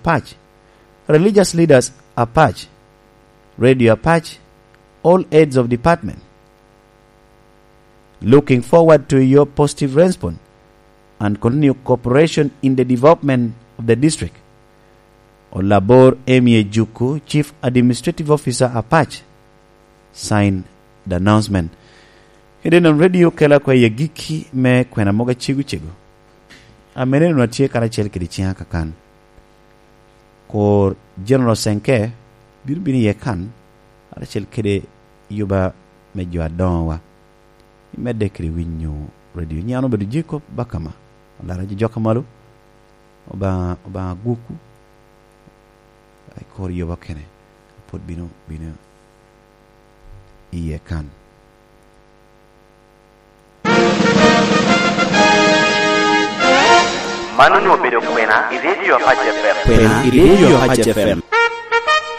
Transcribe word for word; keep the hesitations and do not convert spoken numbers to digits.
Apac, religious leaders Apac, Radio Apac, all heads of department. Looking forward to your positive response and continue cooperation in the development of the district. Olabor Emie Juku, Chief Administrative Officer Apac, sign the announcement. Kede non radio kela kwa i agikki me kwena mogo acego cego. Amene nun atye karacel kede ciŋa kakan. Kor General Senke bino bino iye kan, karacel kede yuba me jo adoŋowa. Imedde kede winyo radio. Nyiŋ an obedo Jacob Bakama, alara jo jok a malo, Obaŋa, Obaŋa agwokwu, i kor yuba kene, pwod bino, bino iye kan. Man onwoŋo obedo kwena i Radio Apac F M. Kwena i Radio Apac F M.